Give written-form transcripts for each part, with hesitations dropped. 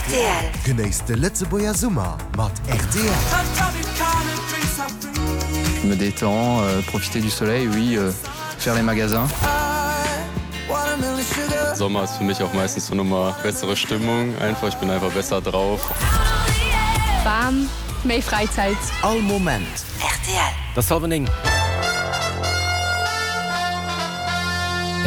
Rtl. Genéisst de Lëtzebuerger Summer mat rtl. Je me détends, profiter du soleil, oui, faire les magasins. Sommer ist für mich auch meistens so nochmal bessere Stimmung einfach, ich bin einfach besser drauf. Bam, méi Fräizäit. All Moment. Rtl. Et ass hallwer 9.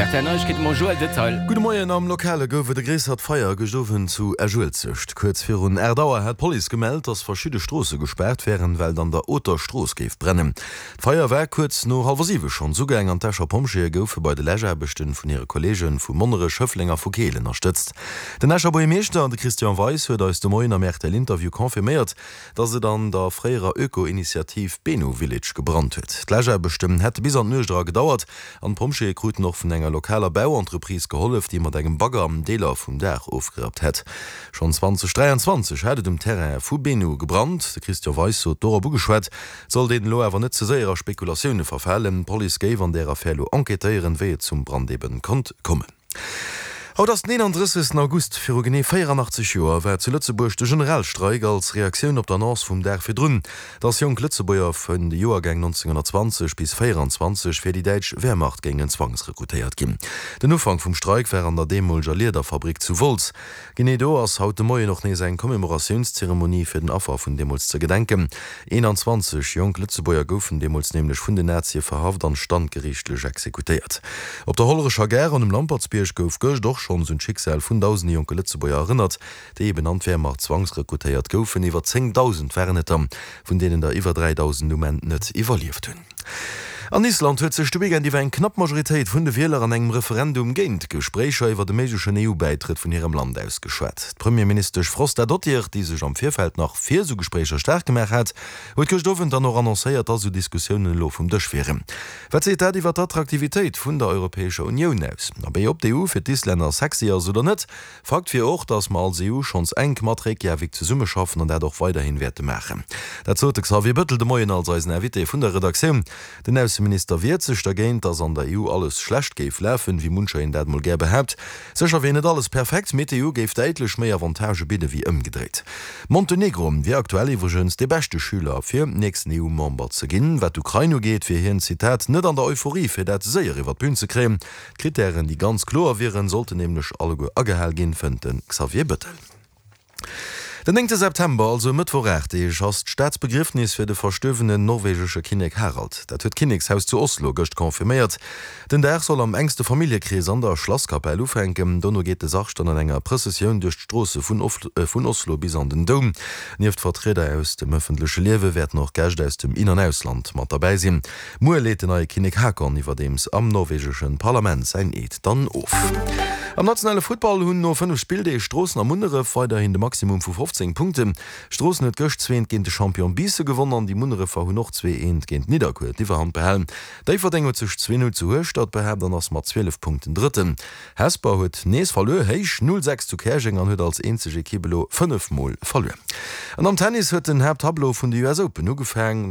Rtl Neiegkeete mam Joël Detail. Gudde Moien, Am Lokale gouf et e gréissert Feier gëscht Owend zu Esch-Uelzecht. Kuerz virun 8 Auer hat d'Police gemellt, dass verschidde Stroosse gespaart wären, well et an der Oter Strooss géif brennen. D'Feier war kuerz no hallwer 7 schonns ugaang an d'Escher Pompjeeë goufe bei de Läschaarbechte vun hire Kolleege vu Monnerech, Schëffleng a vu Keel ënnerstëtzt. Den Escher Buergermeeschter, de Christian Weis, huet eis de Moien am RTL-Interview confirméiert, dass et an der fréierer Öko-Initiativ Benu Village gebrannt huet. D'Läschaarbechten hätte bis an d'Nuecht era gedauert an d'Pompjeeë kruten och vun enger lokaler Bauentreprise gehollef, déi mat engem Bagger Deeler vum Daach ofgerappt hätt. Schonn 2023 hat et um Terrain vu Benu gebrannt. De Christian Weis sot dorop ugeschwat, et sollt een elo awer net ze séier a Spekulatioune verfalen. D'Police géif an där Affär elo enquêtéieren, wéi et zum Brand eben konnt kommen. Haut ass den 31. August. Viru genee 84 Joer war zu Lëtzebuerg de Generalstreik als Reaktioun op d'Annonce vum Dag virdrun, dass jonk Lëtzebuerger vun de Joergäng 1920 bis 24 fir déi däitsch Wehrmacht géingen zwangsrekrutéiert ginn. Den Ufank vum Streik war an der deemoleger Liederfabrik zu Wolz. Genee do ass haut de Moien och nees eng Commémoratiounszeremonie fir den Affer vun deemools ze gedenken. 21 jonk Lëtzebuerger goufen deemools nämlech vun den Nazie verhaft an standgeriichtlech exekutéiert. Op der Hollerecher Gare an um Lampertsbierg gouf gëscht och schonns un d'Schicksal vun dausende jonke Lëtzebuerger erënnert, déi eben an d'Wehrmacht zwangsrekrutéiert goufen. Iwwer 10.000 waren et der, vun deenen der iwwer 3.000 um Enn net iwwerlieft hunn. An Island huet sech de Weekend iwwer eng knapp Majoritéit vun de Wieler an engem Referendum géint Gespréicher iwwer e méiglechen EU-Bäitrëtt vun hirem Land ausgeschwat. D'Premierministesch Frostadottir, déi sech am Virfeld nach fir esou Gespréicher staark gemaach hat, huet gëscht Owend dann och annoncéiert, dass esou Diskussiounen elo vum Dësch wieren. Wat seet dat iwwer d'Attraktivitéit vun der Europäescher Unioun aus? Abee, ob d'EU fir d'Islänner sexy ass oder net, Fakt wier och, datt mer als EU schonns enk mat Reykjavik zesummeschaffen an dat och weiderhin wäerte maachen. Dat sot de Xavier Bëttel de Moien als eisen Invité vun der Redaktioun. Den Ausseminister wiert sech dergéint, datt an der EU alles schlecht géif lafen, wéi muncher een dat mol gär behaapt. Sécher wier net alles perfekt, mee d'EU géif däitlech méi Avantagë bidde wéi ëmgedréit. Montenegro wier aktuell iwwregens dee beschte Schüler fir nächsten EU-Member ze ginn. Wat d'Ukrain ugeet, wier hien, Zitat, net an der Euphorie fir dat séier iwwer d'Bün ze kréien. D'Krittären, déi ganz kloer wieren, sollten nämlech alleguer agehal ginn, fënnt de Xavier Bettel. Den néngte September, also e Mëttwoch 8 Deeg, ass d'Staatsbegriefnis fir de verstuerwenen norwegesche Kinnek Harald. Dat huet d'Kinnekshaus zu Oslo gëscht confirméiert. Den Dag soll am enkste Familljekrees an der Schlasskapell ufänken. Dono geet de Sarg dann an enger Prëssessioun duerch d'Stroosse vun Oslo bis an den Doum. Nieft Vertrieder aus dem ëffentleche Liewe wäerten och Gäscht aus dem In an Ausland mat derbäi sinn. Muer leet den neie Kinnek Haakon iwwerdeems am norwegeschen Parlament säin Eed dann of. Am nationale Futtball hunn no 5 Spilldeeg Stroossen a Munneref weiderhin de Maximum vu 15 Punkten. Stroossen huet gëscht zweent géint de Champion Biissen gewonn an déi Munnerefer hunn och 2 eent géint Nidderkuer d'Iwwerhand behalen. Déifferdeng huet sech 2 0 zu Hueschtert behaapt an ass mat 12 Punkten Drëtten. Hesper huet nees verluer, héich 0 6 zu Käerjeng an huet als eenzeg Ekipp elo 5 mol verluer. An am Tennis huet den Haapttableau vun de US Open ugefaangen.